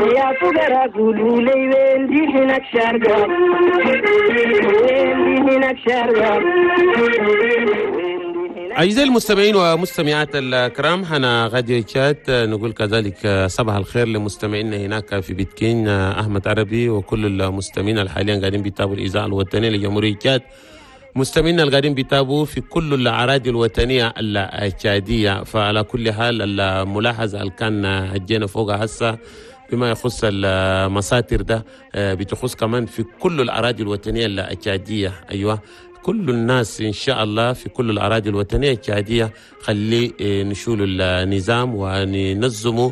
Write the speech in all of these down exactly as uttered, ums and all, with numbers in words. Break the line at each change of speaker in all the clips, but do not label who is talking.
يا فقراء قولوا لي وين دي هناك شارقة، وين دي هناك شارقة.
أعزائي المستمعين ومستمعات الكرام، هنا غادي تشاد نقول كذلك صباح الخير لمستمعينا هناك في بيتكين أحمد عربي وكل المستمعين الحاليا قاعدين بيتابعوا الإذاعة الوطنية لجمهورية تشاد، مستمعينا اللي قاعدين بيتابعوا في كل الأراضي الوطنية التشادية. فعلى كل حال الملاحظة اللي كان هجينا فوقها هسه بما يخص المساتر ده بتخص كمان في كل الأراضي الوطنية التشادية. أيوة كل الناس إن شاء الله في كل الأراضي الوطنية التشادية خلي نشول النظام وننظموا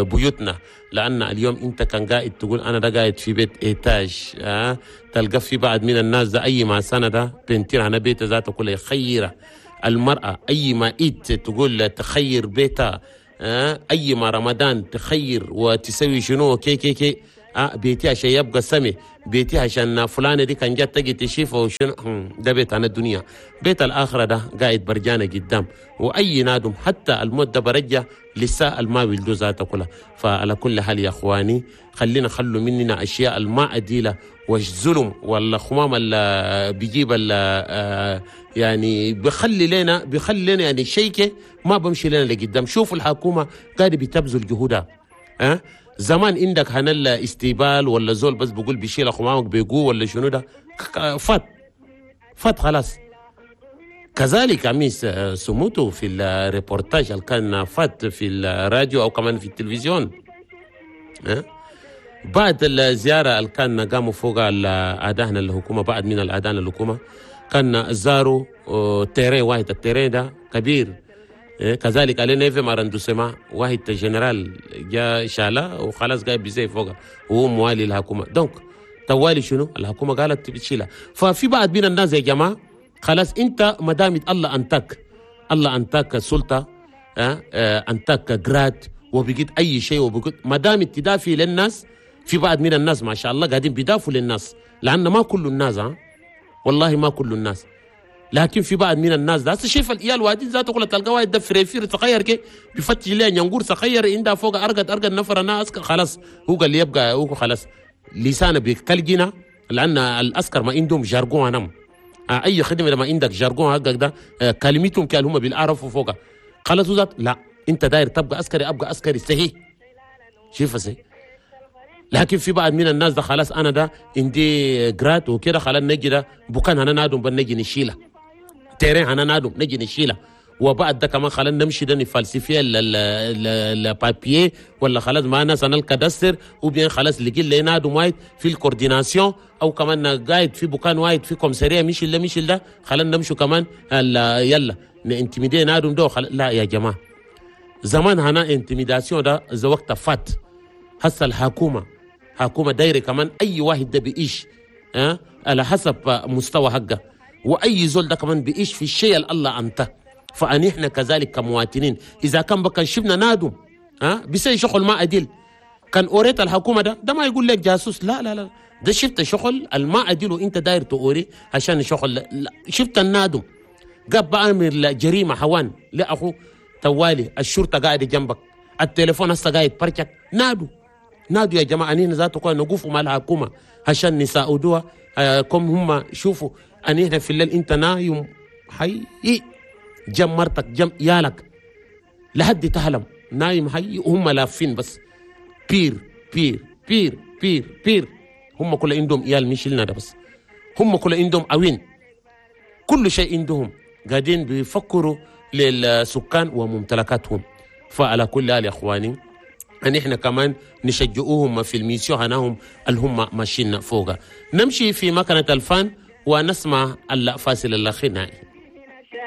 بيوتنا، لأن اليوم أنت كان قاعد تقول أنا ده قاعد في بيت étage، أه؟ تلقى في بعض من الناس ده أي ما سنة ده peinture أنا بيت ذاته كله يخيره المرأة، أي ما إيت تقول تخير بيتها، أه؟ أي ما رمضان تخير وتسوي شنو كي كي كي أه بيتي عشان يبقى سمي، بيتي عشان فلانة دي كان جت تجي تشيفه وشنو، ده بيت عن الدنيا. بيت الآخرة ده قاعد برجانة قدام، وأي نادم حتى الموت ده برجع لسه الما ولدو ذاته كلها. فعلى كل حال يا أخواني خلينا خلوا مننا أشياء الما عديلة والظلم ولا خمام اللي بيجيب اللي يعني بيخلي لنا بيخلي لنا يعني شيء ما بمشي لنا لقدام. شوفوا الحكومة قاعدة بتبذل جهودها. أه؟ زمان عندك هنال استيبال ولا زول بس بقول بيشيل خمامك بيقو ولا شنو ده فات فات خلاص. كذلك أميس سموتو في الريبورتاج اللي كان فات في الراديو أو كمان في التلفزيون، أه؟ بعد الزيارة اللي كان قاموا فوق الأداء الحكومة، بعد من الأداء الحكومة كان زاروا terrain واحد، ال terrain ده كبير كذلك علينا في arrondissement واحد جنرال جاء شالا وخلاص قاعد بيزي فوق وهو موالي الحكومة. donc توالي شنو الحكومة قالت بتشيلها. ففي بعض من الناس يا جماعة خلاص انت ما دام الله انتك الله انتك سلطة أه؟ انتك grade وبقيت اي شيء وبقيت ما دام تدافي للناس. في بعض من الناس ما شاء الله قاعدين بيدافوا للناس، لان ما كل الناس ها والله ما كل الناس، لكن في بعض من الناس ده شايف العيال وادين ذاته كله تلقى واحد ده فريفير صغير كي بيفتش ليه ينقور صغير عنده فوق ارقد ارقد نفر ناس خلاص هو قال يبقى هو خلاص لسانه بيكلجنا، لان العسكر ما عندهم jargon هنم اي خدمة لما عندك jargon حقك ده كلمتهم كان هم بيعرفوا فوق خلاص ذات لا انت داير تبقى عسكري ابقى عسكري صحيح شوف صحيح. لكن في بعض من الناس ده خلاص انا ده عندي grade وكده خلاص نجي ده بكان انا نادم بنجي نشيله terrain انا نادم نجي نشيله، وبعد ده كمان خلاص نمشي ده ن falsifier ال papiers ولا خلاص ما ناس انا ال cadastre وبين خلاص لقي لي نادم وايد في ال coordination او كمان قاعد في بكان وايد في commissariat مش اللي مش ده خلاص نمشوا كمان يلا ن intimider نادم ده. لا يا جماعة زمان هنا intimidation ده ذا وقت فات. هسه الحكومة حكومة دايرة كمان اي واحد ده بيعيش أه؟ على حسب مستوى حقه، واي زول ده كمان بيعيش في الشيء اللي الله انت. فان احنا كذلك كمواطنين اذا كان بكن شفنا نادم ها أه؟ بيسوي شغل ما عديل كان اوريت الحكومة ده ده ما يقول لك جاسوس، لا لا لا ده شفت شغل الما عديل وانت داير توري عشان شغل لا. شفت النادم قاب بعمل جريمة حوان لا اخو توالي الشرطة قاعدة جنبك التليفون هسه قاعد برشك نادو نادوا يا جماعة انين ذاته كنا نقفوا مع الحكومة عشان نساعدوها كم هم شوفوا ان احنا في الليل انت نايم حي جم مرتك جم يالك لحد تهلم نايم حي وهم لافين بس بير بير بير بير بير هم كل عندهم عيال مش لنا ده بس هم كل عندهم عوين كل شيء عندهم قاعدين بيفكروا للسكان وممتلكاتهم. فعلى كل حال يا اخواني ان احنا كمان نشجعوهم في ال mission هناهم اللي هم ماشيين فوق. نمشي في مكنه الفان ونسمع الفاصل الغنائي.